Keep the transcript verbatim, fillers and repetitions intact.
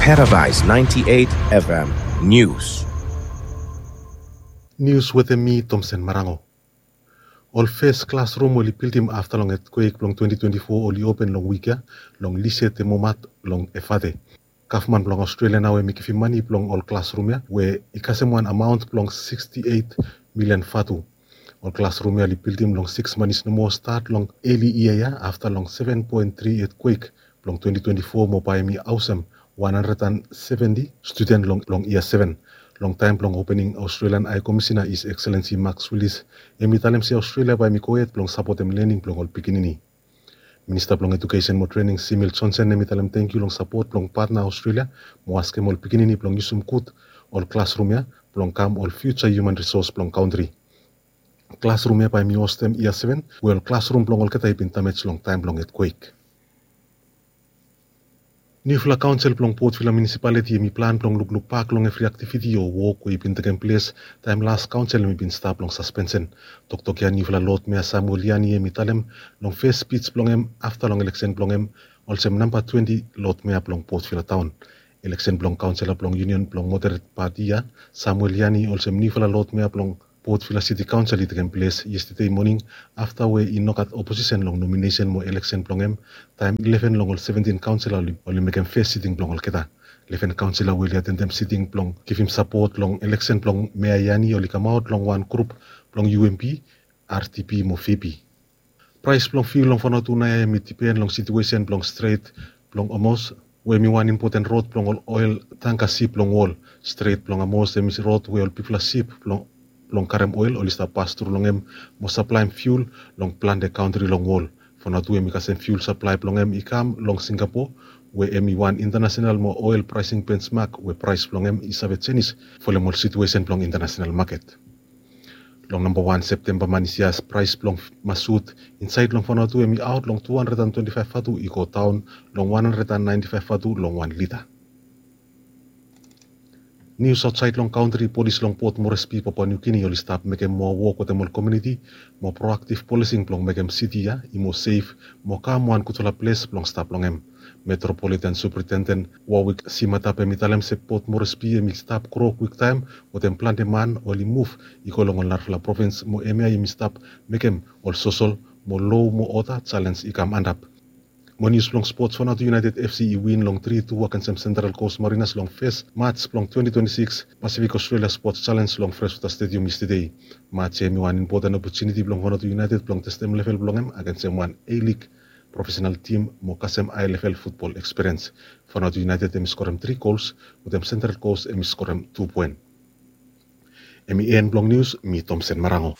Paradise ninety-eight F M News. Nius wetem mi, Tomsen Marango. Ol fes klasrum oli bildim afta long etkwek blong twenty twenty-four oli open long wik ya long Lise de Momat long Efate. Gavman blong Australia nao hemi givim mane blong ol klasrum ya we i kasem wan amaon blong sixty-eight million vatu. Ol klasrum ya oli bildim long six manis nomo stat long eli yia ya afta long seven point three etkwek blong twenty twenty-four mo bae hemi haosem one hundred and seventy studen long, long yia seven. Long taem blong opening, Australian High Commissioner, His Excellency Max Willis, hemi talem se Australia bae hemi gohed blong sapotem lening blong ol pikinini. Minista blong Edukesen mo Trening, Simil Johnson, hemi talem tangkiu long sapot blong patna Australia mo askem ol pikinini blong yusum gud ol klasrum ya blong kam ol fiuja hiuman risos blong kantri. Klasrum ya bae hemi hostem yia seven we ol klasrum blong olgeta i bin damej long taem blong etkwek. Niufala kaonsel blong Port Vila Municipality hemi plan blong lukluk bak long evri aktiviti o wok we i bin tekem ples taem las kaonsel hemi bin stap long saspensen. Toktok ya niufala Lord Mayor Samuel Iyani hemi talem long fes spij blong hem afta long eleksen blong hem olsem namba twenti Lord Mayor blong Port Vila Taon. Eleksen blong kaonsela blong Union blong Moderate Party ya, Samuel Iyani olsem niufala Lord Mayor blong Port Vila City Council i tekem ples yestede moning afta we i nogat oposisen long nominesen mo eleksen blong hem taem eleven long ol seventin kaonsela oli, oli mekem fes siting blong olgeta. Eleven kaonsela we oli atendem siting blong givim sapot long eleksen blong Mayor Iyani oli kamaot long wan grup blong U M P, R D P mo V P. Praes blong fiul long Vanuatu naoia hemi dipen long situesen blong Stret blong Hormuz we hemi wan impoten rod blong ol oel tangka sip long wol. Stret blong Hormuz hemi rod we ol bigfala sip blong, blong karem oel oli stap pas tru long hem mo saplaem fiul long plante kantri long wol. Vanuatu hemi kasem fiul saplae blong hem i kam long Singapore we hemi wan intanasenal mo oel praesing bensmak we praes blong hem i save jenis folem ol situesen blong intanasenal maket. Long namba wan Septemba manis ya, praes blong masut insaed long Vanuatu hemi aot long tu handred and twenti faef vatu i go daon long wan handred and naenti faef vatu long wan lita. Nius aotsaed long kantri, polis long Port Moresby, Papua New Guinea oli stap mekem moa wok wetem ol komuniti mo proaktiv polising blong mekem siti ya i moa sef mo kam wan gudfala ples blong stap long hem. Metropolitan Superintendent Warwick Simatap hemi talem se Port Moresby hemi stap gro kwiktaem wetem plante man oli muv i go long ol narafala provins mo hemia hemi stap mekem ol sosol mo loa mo oda jalens i kam antap. Mo nius blong spots, Vanuatu United F C i win long tri tu agensem Central Coast Mariners long fes mats blong twenti twenti sikis Pacific Australia Sports Challenge long Freshwater Stadium yestede. Mats ya hemi wan impoten opotuniti blong Vanuatu United blong testem level blong hem agensem wan A-League profesenal tim mo kasem hae level futbol ekspiriens. Vanuatu United hemi skorem tri gols wetem Central Coast hemi skorem tu poen. Hemi en blong nius, mi Tomsen Marango.